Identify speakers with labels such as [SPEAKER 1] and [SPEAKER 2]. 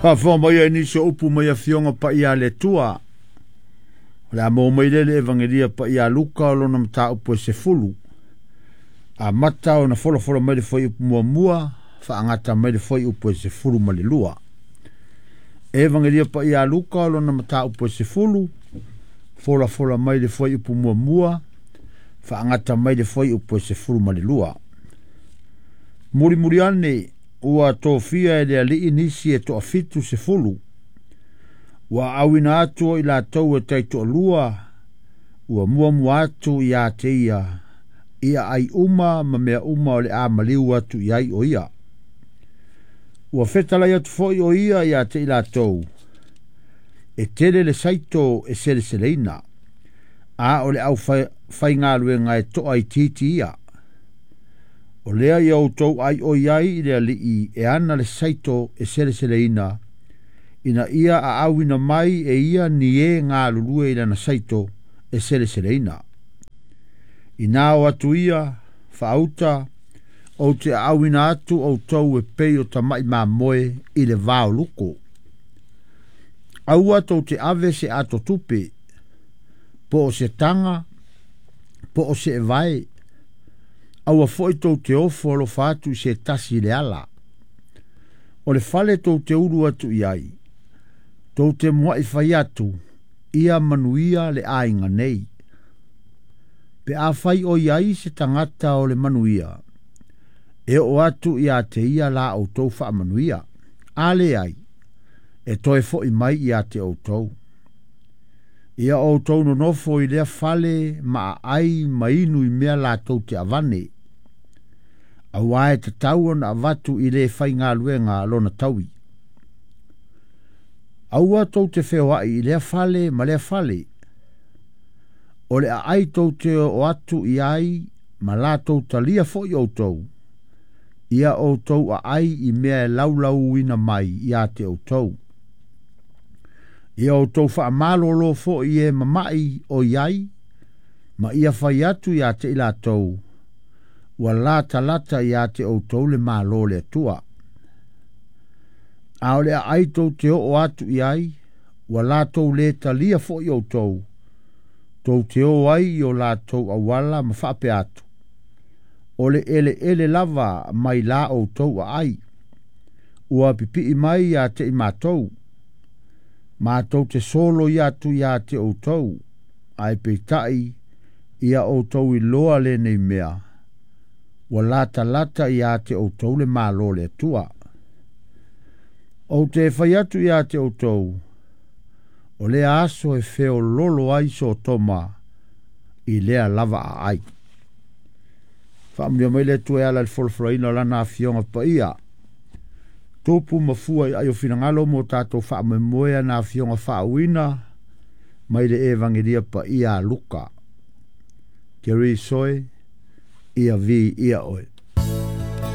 [SPEAKER 1] Faafofoga mai ai nisi o upu mai Afioga Paia a le Atua. O le a maua mai lea i le Evagelia Paia a Luka o lona mataupu e 10. Amata ona folafola mai le fuaiupu muamua, faagata mai le fuaiupu e 12. Evagelia Paia a Luka o lona mataupu e 10, folafola mai le fuaiupu muamua, faagata mai le fuaiupu e 12. Mulimuli ane ua tofia e le alii nisi e 70. Ua auina atu o i latou e taitoalua, ua muamua atu ia te ia, ia ai uma ma mea uma o le a maliu atu i ai o ia. Ua fetalai atu foi o ia ia te i latou, e tele le saito e seleseleina, a o le au faigaluega e toa i titi ia. O lea ia outou ai o iai i le alii e ana le saito e seleseleina, ina ia aauina mai e ia ni e galulue i lana saito e seleseleina. Ina o atu ia, faauta, ou te aauina atu outou e pei o tamai mamoe i le vao luko. Aua tou te ave se ato tupe, po o se taga, po o se evae, aua foi tou te ofo alofa atu i se tasi i le ala. O le fale tou te ulu atu i ai, tou te muai fai atu, ia manuia le aiga nei. Pe a fai o iai se tagata o le manuia, e oo atu ia te ia la outou faamanuia. A leai, e toe foi mai ia te outou. Ia outou nonofo i lea fale ma aai ma inu i mea latou te avane. Aua e tatau ona avatu i le faigaluega lona taui. Aua tou te feoai i lea fale ma lea fale. O le aai tou te oo atu i ai ma latou talia foi outou. Ia outou aai i mea e laulauina mai ia te outou. Ia outou faamalolo foi e mamai o i ai, ma ia fai atu ia te i latou, ua latalata ia te outou le Malo o le Atua. A o le aai tou te oo atu i ai, ua latou le talia foi outou, tou te o ai i o latou auala ma faapea atu, o le eleele lava mai la outou aai, ua pipii mai ia te i matou, matou te solo i atu ia te outou, ae peitai ia outou iloa lenei mea, ua latalata ia te outou le Malo o le Atua. Ou te fai atu ia te outou, o lea aso e feololo ai Sotoma i lea lava aai. Faamanuia mai le Atua e ala i le folafolaina o Lana Afioga Paia. Tupu ma fua i ai o finagalo mo tatou faamoemoe ana Afioga faauuina mai le Evagelia Paia a Luka. Keriso e, ia viia oe.